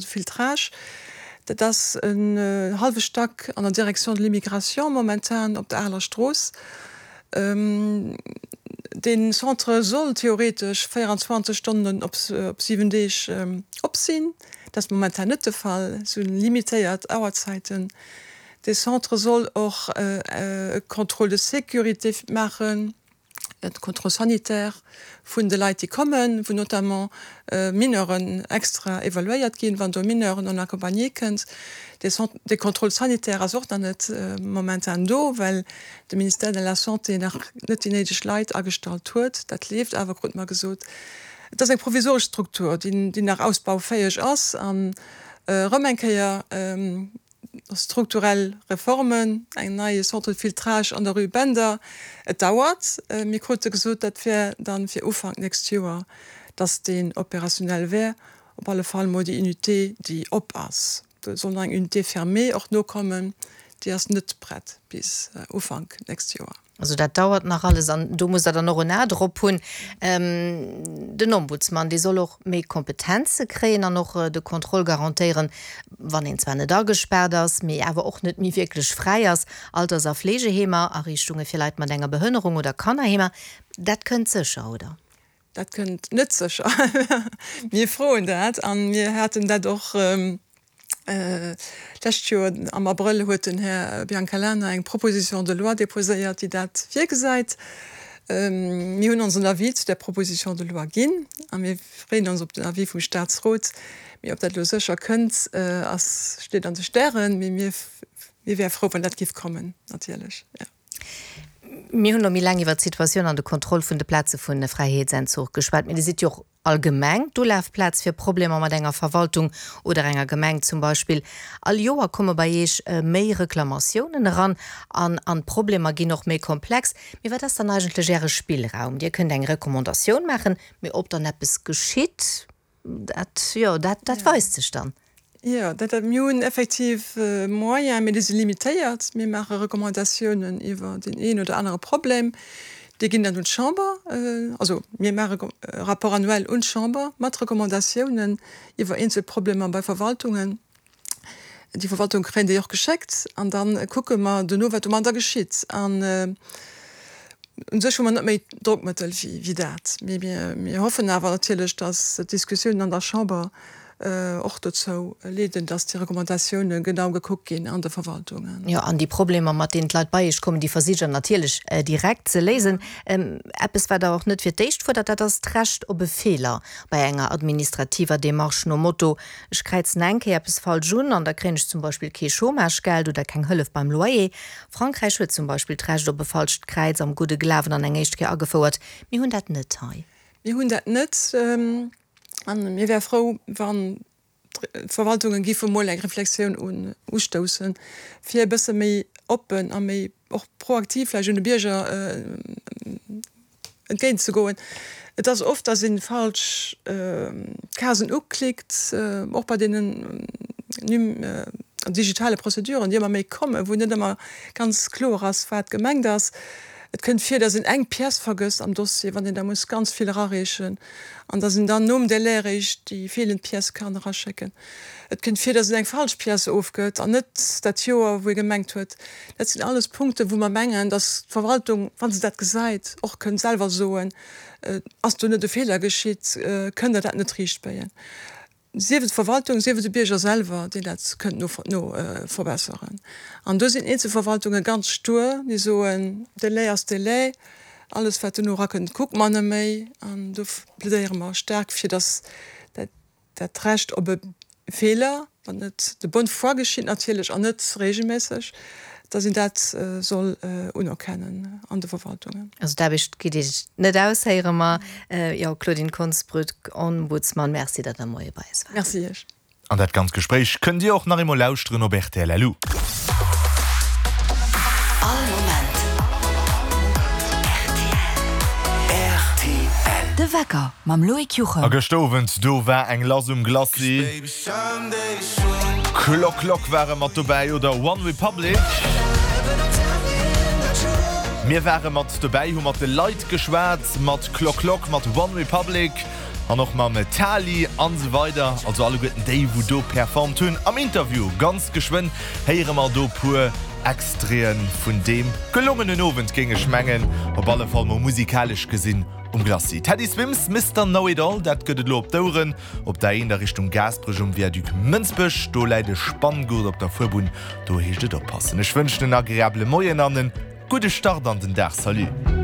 De Filtrage, dat ass en hallwe Stack an der Direction de l'immigration momentan op der Aler Strooss. Dee Centre soll theoretesch 24 Stonnen op 7 Deeg op sinn. Dat ass momentan net de Fall, et si limitéiert Auerzäiten. Dee Centre soll och e Contrôle de sécurité maachen. de Contrôle sanitaire vun de Leit, déi kommen, wou notamment Mineuren extra evaluéiert ginn, wann do e Mineur non accompagné kënnt. Dee Contrôle sanitaire ass och nach net momentan do, well de Ministère de la Santé nach net déi néideg Leit agestallt huet. Dat leeft awer, krute mer gesot. Et ass eng provisoresch Struktur, déi nach ausbaufäeg ass an erëm eng Kéier, Strukturell Reformen, eng neie Centre de filtrage an der Rue Bender. Et dauert. Mir krute gesot, dat wär dann fir Ufank nächst Joer, dass deen opérationnel wär. Op alle Fall mol déi Unité, déi op ass. Do soll nach eng Unité fermée och nokommen. Déi ass net prett bis Ufank nächst Joer. Also dat dauert nach alles an do musst Der dann och en A drop hunn. Den Ombudsman, dee soll och méi Kompetenze kréien an och de Contrôle garantéieren, wann een zwar net agespaart ass, mee awer och net méi wierklech fräi ass. Alters a Fleegeheemer, Ariichtunge fir Leit mat enger Behënnerung oder Kannerheemer, dat kënnt sécher, oder? Dat kënnt net sécher. Mir froen dat a mir haten dat och d'lescht Joer am Abrëll huet den Här Biancalana eng Proposition de loi déposéiert, déi dat virgesäit. Mir hunn onsen Avis zu där Proposition de loi ginn a mir freeën ons op den Avis vum Statsrot. Mee ob dat elo sécher kënnt, ass, steet an de Stären. Mee mir, mir wäre frou, wann dat géif kommen, natierlech, jo. Mir hunn elo méi laang iwwert d'Situatioun an de Contrôle vun de Plaze vu Fräiheetsentzuch geschwat. Mee Dir sidd jo och allgemeng d'Ulafplaz fir Problemer mat enger Verwaltung oder enger Gemeng zum Beispill. All Joer komme bei Iech méi Reklamatiounen eran an an d'Problemer ginn och méi komplex. Mee wat ass dann eigentlech Äre Spillraum? Dir kënnt eng Recommandatioun maachen, mee ob dann eppes geschitt, Dat, jo, dat, dat weist sech dann. Jo, dat, dat, mir hunn effektiv Moyens, mee déi si limitéiert. Mir maache Recommandatiounen iwwer deen een oder anere Problem. Déi ginn dann un d'Chamber. Also mir maache e Rapport annuel un d'Chamber mat Recommandatiounen iwwer eenzel Problemer bei Verwaltungen. Déi Verwaltung kréien déi och geschéckt an da kucke mer duerno, wat domadder geschitt. An u sech hu mer net méi Drockmëttel wéi dat. Mee mir hoffen awer natierlech, datt d'Diskussiounen an der Chamber och dozou leeden, datt déi Recommandatioune genau gekuckt ginn an de Verwaltungen. Jo, an déi Problemer, mat deenen d'Leit bei Iech kommen, déi versicht Der natierlech direkt ze léisen. Eppes, wat Der och net fir d'éischt fuerdert, dat ass d'Recht op e Feeler bei enger administrativer Demarche nom Motto, Ech kräizen eng Kéier eppes falsch un an da kréien ech zum Beispill kee Chômagegeld oder keng Hëllef beim Loyer. Frankräich huet zum Beispill d'Recht op e falscht Kräiz am gudde Glawen an eng éischt Kéier agefouert. Mir hunn dat net hei. Mir hunn dat net a mir wäre frou, wann d'Verwaltunge géife mol eng Reflexioun ustoussen, fir e bësse méi oppen a méi och proaktiv vläicht un de Bierger entgéint ze goen. Et ass oft, dass ee falsch Casen uklickt, och bei deenen digitale Prozeduren, déi ëmmer méi kommen, wou net ëmmer ganz kloer ass, wat gemengt ass. Et kënnt vir, dass een eng Pièce vergësst am Dossier, wann een da muss ganz vill erareechen an dass een dann nom Délai eréischt déi feelend Pièce kann eraschécken. Et kënnt vir, dass een eng falsch Pièce ofgëtt an net dat Joer, wou ee gemengt huet. Dat sinn alles Punkten, wou mer mengen, dass d'Verwaltung, wa se dat gesäit, och kënnt selwer soen, Ass do net e Feeler geschitt? Kënnt Der dat net riichtbéien? Sief et d'Verwaltung, sief et de Bierger selwer, deen dat kënnt no verbesseren. An do sinn eenzel Verwaltunge ganz stur, déi soen, Délai ass Délai, alles wat dono erakënnt, kucke mer net méi. An do plädéiere mer staark, fir dass dat Dat Recht op e Feeler, wann et de bonne foi geschitt natierlech an net regelméisseg, dass een dat soll unerkennen an de Verwaltungen. Also d'Aarbecht geet Iech net aus, héiere mer. Jo, Claudine Konsbrück, Ombudsman, Merci, datt Der Moie bei eis waart. Merci Iech. An dat ganzt Gespréich kënnt Dir och nach eemol lauschteren op rtl. Lu. All Moment rtl. De Wecker mam Loïc Juchem. A gëschter Owend, do war eng lass um Glacis. Clock Clock ware mat dobäi oder One Republic. Mir ware mat dobäi, hu mat de Leit geschwat, mat Clock Clock, mat One Republic. An och mam Tali an esou weider. Also alleguerten déi wou do performt hunn am Interview. Ganz geschwënn héiere mer do puer Extraiten vun deem gelongenen Owend géing ech mengen. Op alle Fall mol musikalesch gesinn um Glacis. Teddy Swims, Mister Know It All, dat gëtt et elo op d'Oueren. Op der A1 a Richtung Gaasperech um Viaduc Mënsbech, do läit e Spanngurt op der Fuerbunn, do heescht et oppassen. Ech wënschen en agreabele Moien an en gudde Start an den Dag. Salut.